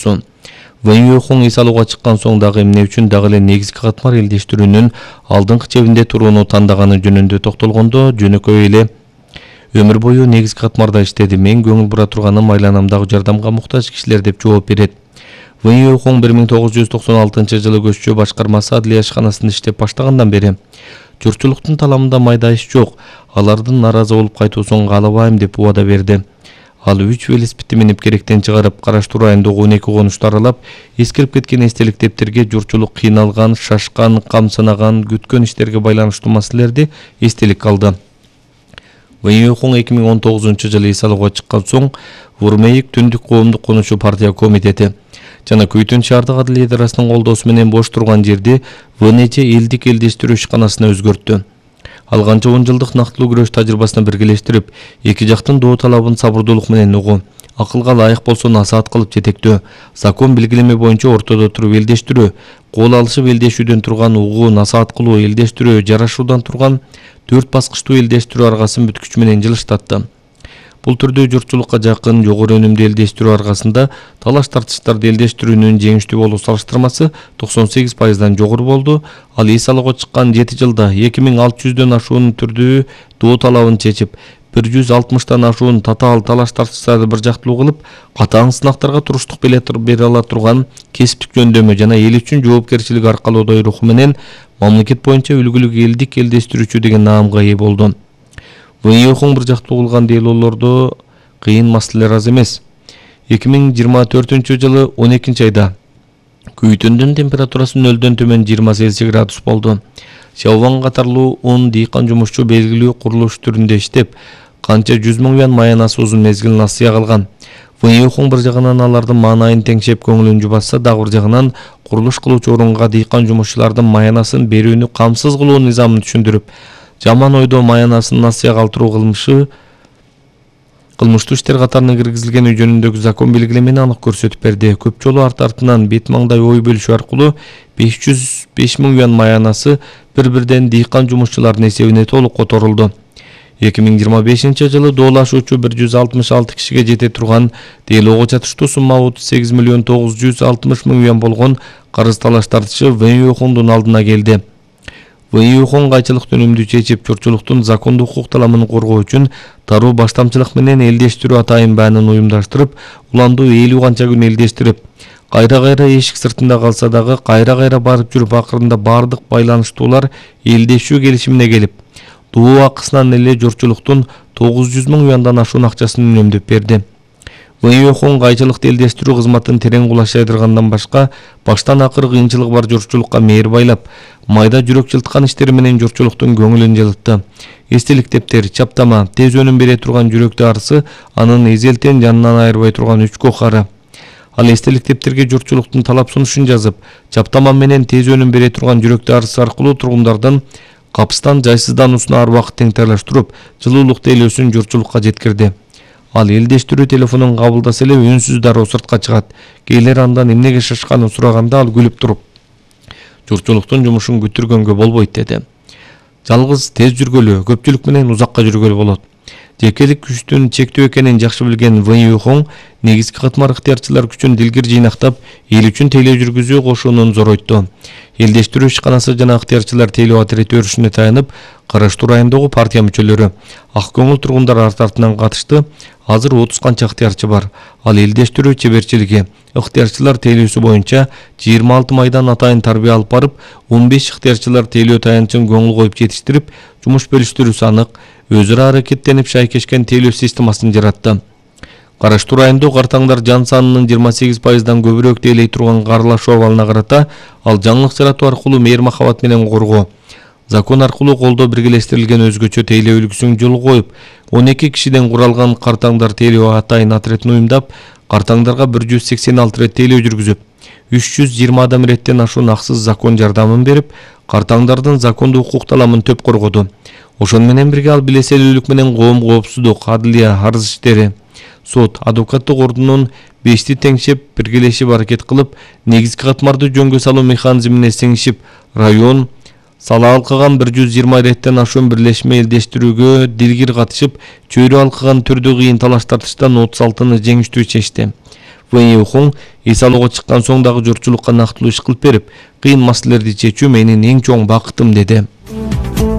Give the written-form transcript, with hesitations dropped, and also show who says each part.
Speaker 1: катышуусу. Вэнь Юйхон эс алууга чыккан соң дагы эмне үчүн дагы эле негизги катмар элдештирүүнүн алдыңкы чебинде турууну тандаганы жөнүндө токтолгондо жөнөкөй эле өмүр бою негизги катмарда иштеди. Мен көңүл бура турганым айланамдагы жардамга муктаж кишилер деп жооп берет. Вэнь Юйхон 1996-жылы көччү башкармасы адлия ишканасында иштеп баштагандан бери журтчулуктун таламында майда иш жок. Алардын наразы болуп кайтуусун каалабайм деп убада берди. Ал 3 велосипедти минип керектен чыгарып, Караштуу районундагы 12 конушту аралап, эскирип кеткен эстелик дептерге журтчулук кыйналган, шашкан, камсынаган, күткөн иштерге байланыштуу маселелерди эстеликке алды. Вэнь Юйхон 2019-жылы эс алууга чыккан соң Урмейик түндүк коомдук конушуу партия комитети жана Көйтөн шаардык адилет идарасынын колдоосу менен бош турган жерди ВНЧ элдик элдештирүү ишканасына өзгөрттү. Ал канча 10 жылдык нактылуу күрөш тажрыйбасын биргелештирип, эки жактын доо талабын сабырдуулук менен угуу, акылга ылайык болсо насаат кылып жетектөө, закон белгилеме боюнча ортодо туруп элдештирүү, кол алышып элдешүүдөн турган угуу, насаат кылуу, элдештирүү, жарашуудан турган 4 баскычтуу элдештирүү аргасын бүткүч менен жылыштатты. Бул түрдө журтчулукка жакын, жогору өнүмдүү элдештирүү аргасында талаш тартыштарды элдештирүүнүн жеңиштүү болуу салыштырмасы 98%дан жогору болду. Ал эс алууга чыккан 7 жылда 2600дөн ашуун түрдүү доо талабын чечип, 160тан ашуун татаал талаш тартыштарды бир жактылуу кылып, катаң сынактарга туруштук бере ала турган кесиптик жөндөмө жана эл үчүн жоопкерчилик аркалоодой руху менен мамлекет боюнча үлгүлүк элдик элдештирүүчү деген наамга ээ болду. Вэнь Юйхон бир жактуу кылган делоолордо кыйын маселелер аз эмес. 2024-жылы 12-айда Көйтөндүн температурасы 0дөн төмөн 20 Цельсий градус болду. Шаубан катарлуу 10 дыйкан жумушчу белгилүү курулуш түрүндө иштеп, канча 100 миң юан маянасы узун мезгил насыя калган. Вэнь Юйхон бир жагынан алардын маанайын теңшеп көңүлүн жубатса, дагы бир жагынан курулуш кылуучу орунга дыйкан жумушчулардын маянасын берүүнү камсыз кылуу низамын түшүндүрүп, жаман ойдо маянасын насыя калтыруу кылмыштуу иштер катарына киргизилгени жөнүндөгү закон белгилемени анык көрсөтүп берди. Көп жолу артынан бет маңдай ой бөлүшүү аркылуу 505 миң юан маянасы бир-бирден дыйкан жумушчулардын эсебине толук которулду. 2025-жылы доолашуучу 166 кишиге жете турган делоого чатыштуу сумма 38 миллион 960 миң юан болгон карыз талаш тартышы Вэнь Юйхондун алдына келди. Вэнь Юйхон кайчылыкты өнүмдүү чечип, журтчулуктун закондуу укук таламын коргоо үчүн таруу баштамчылык менен элдештирүү атайын баанын уюмдаштырып, уландуу 50 канча күн элдештирип, кайра-кайра эшик сыртында калса дагы кайра-кайра барып жүрүп, акырында бардык байланыштуулар элдешүү келишимине келип, доо акысынан эле журтчулуктун 900 миң юандан ашуун акчасын үнөмдөп берди. Вэнь Юйхон кайчылыкты элдештирүү кызматын терең кулашайдыргандан башка, баштан акыр кыйынчылыгы бар журтчулукка мээр байлап, майда жүрөк жылткан иштери менен журтчулуктун көңүлүн жылытты. Эстелик дептер, чаптама, тез өнүм бере турган жүрөктү арысы анын эзелтен жанынан айырбай турган үч кохары. Ал эстелик дептерге журтчулуктун талап сунушун жазып, чаптама менен тез өнүм бере турган жүрөктү арысы аркылуу тургундардын капыстан жайсыздануусуна ар убакыт теңтайлаштырып, жылуулук делөөсүн журтчулукка жеткирди. Ал элдештирүү телефонун кабылдаса эле үнсүз дароо сыртка чыгат. Кээлер андан эмнеге шашканын сураганда ал күлүп туруп, журтчулуктун жумушун күтүргөнгө болбойт деди. Жалгыз тез жүргөлү, көпчүлүк менен узакка жүргөлү болот. Жекелик күчтүн чектөө экенин жакшы билген Вэнь Юйхон негизги катмар ыктыярчылар күчүн дилгир жыйнактап, эл үчүн тейлөө жүргүзүү кошуунун зоройту. Элдештирүү ишканасы жана ыктыярчылар тейлөө отряд өрүшүнө таянып, Караштуу районундагы партия мүчөлөрү, ак көңүл тургундар артынан катышты. Азыр 30 канча ыктыярчы бар. Ал элдештирүү чеберчилиги, ыктыярчылар тейлөөсү боюнча 26 майдан атайын тарбия алып барып, 15 ыктыярчылар тейлөө таянчын көңүл коюп жетиштирип, жумуш бөлүштүрүүсү анык, өзүрө аракеттенип шайкешкен тейлөө системасын жаратты. Караштуу районундагы картаңдар жан санынын 28%дан көбүрөөк тейлей турган карлашуу абалына карата ал жаңылык жаратуу аркылуу мээр махабат менен коргоо, закон аркылуу колдоо биргелештирилген өзгөчө тейлөө үлгүсүн жолго коюп, 12 кишиден куралган картаңдар тейлөө атайын отрядын уюмдап, картаңдарга 186 рет тейлөө жүргүзүп, 320 адам реттен ашуун аксыз закон жардамын берип, картаңдардын закондуу укук таламын төп коргоду. Ошону менен бирге ал билеселүүлүк менен коом коопсуздук, адылия, арыз иштери, сот, адвокаттык ордунун 5ти теңшеп, биргелешип аракет кылып, негизги катмарды жөнгө салуу механизмине сиңишип, район сала алкыган 120 реттен ашуун бирлешме элдештирүүгө дилгир катышып, чөйрө алкыган түрдүү кыйын талаш тартыштан 36-ны жеңиштүү чечти. Вэнь Юхун эс алууга чыккан соң дагы журтчулукка нактылуу иш кылып берип, кыйын маселелерди чечүү менин эң чоң бакытым деди.